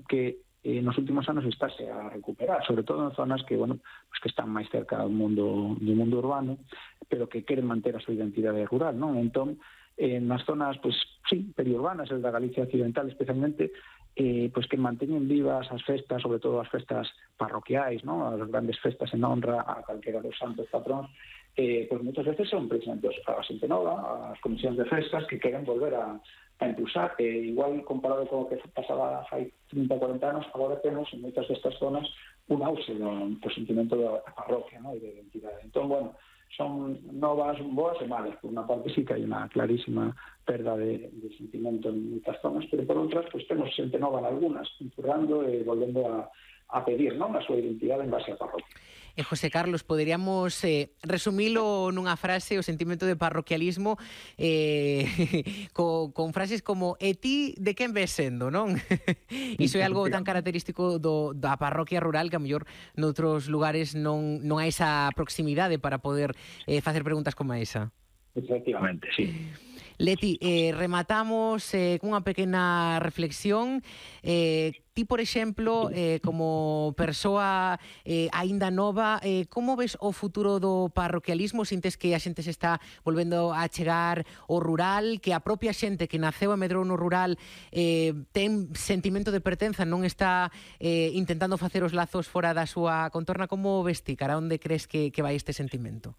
que nos últimos anos estáse a recuperar, sobre todo en zonas que, bueno, pues que están máis cerca do mundo urbano, pero que queren manter a súa identidade rural, non? Entón, nas zonas, pues, sí, periurbanas, el da Galicia Occidental especialmente, pues que manteñen vivas as festas, sobre todo as festas parroquiais, non? As grandes festas en honra a calquera dos santos patróns, pues muchas veces son precisamente a xente nova, as comisións de festas que queren volver a impulsar, igual comparado con o que pasaba hai 30 ou 40 anos, agora temos en moitas destas zonas un auxe do sentimento da parroquia, ¿no? E de identidade. Entón, bueno, son novas boas e malas. Por unha parte sí que hai unha clarísima perda de sentimento en moitas zonas, pero por outras, pues temos xente nova en algunas, empurrando e volvendo a pedir, non, a súa identidade en base á parroquia. José Carlos, poderíamos resumilo nunha frase, o sentimento de parroquialismo con frases como "e ti de quen ves sendo", non? Iso é algo tan característico da parroquia rural que a mellor noutros lugares non hai esa proximidade para poder facer preguntas como esa. Efectivamente, sí. Leti, rematamos cunha pequena reflexión. Ti, por exemplo, como persoa aínda nova, como ves o futuro do parroquialismo? Sintes que a xente se está volvendo a chegar ao rural, que a propia xente que naceu e medrou no rural ten sentimento de pertenza, non está intentando facer os lazos fora da súa contorna? Como ves ti? Cara onde crees que vai este sentimento?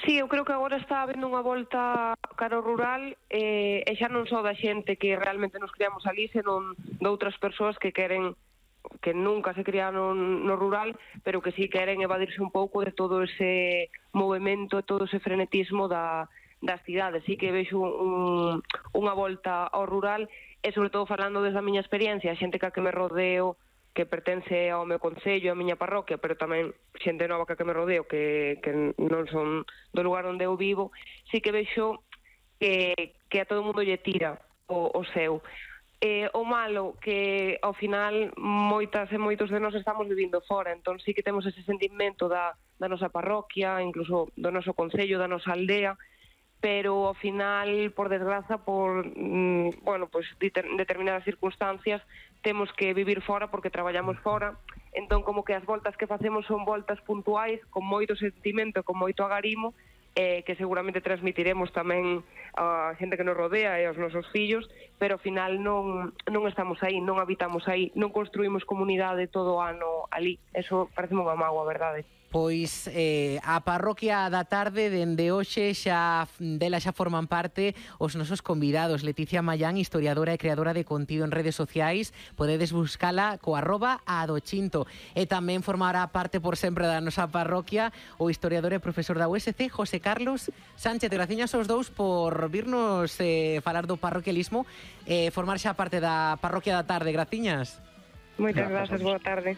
Sí, eu creo que agora está habendo unha volta cara ao rural e xa non só da xente que realmente nos criamos ali, senón de outras persoas que queren, que nunca se criaron no rural, pero que sí queren evadirse un pouco de todo ese movimento, todo ese frenetismo das cidades. Sí que vexo unha volta ao rural e, sobre todo, falando desde a miña experiencia, a xente que me rodeo, que pertence ao meu concello, á miña parroquia, pero tamén xente nova que me rodeo, que non son do lugar onde eu vivo, sí que vexo que a todo mundo lle tira o seu. O malo que ao final moitas e moitos de nós estamos vivindo fora, entón sí que temos ese sentimento da nosa parroquia, incluso do noso concello, da nosa aldea, pero ao final, por desgraza, por pues determinadas circunstancias, temos que vivir fora porque traballamos fora. Entón, como que as voltas que facemos son voltas puntuais, con moito sentimento, con moito agarimo, que seguramente transmitiremos tamén a xente que nos rodea e aos nosos fillos, pero ao final non estamos aí, non habitamos aí, non construímos comunidade todo o ano ali. Eso parece unha mágoa, verdade? Pois a parroquia da tarde dende hoxe dela xa forman parte os nosos convidados. Leticia Mallán, historiadora e creadora de contido en redes sociais, podedes buscala co @adochinto. E tamén formará parte por sempre da nosa parroquia o historiador e profesor da USC, José Carlos Sánchez. Graciñas aos dous por virnos falar do parroquialismo e formar xa parte da parroquia da tarde. Graciñas. Moitas grazas, boa tarde.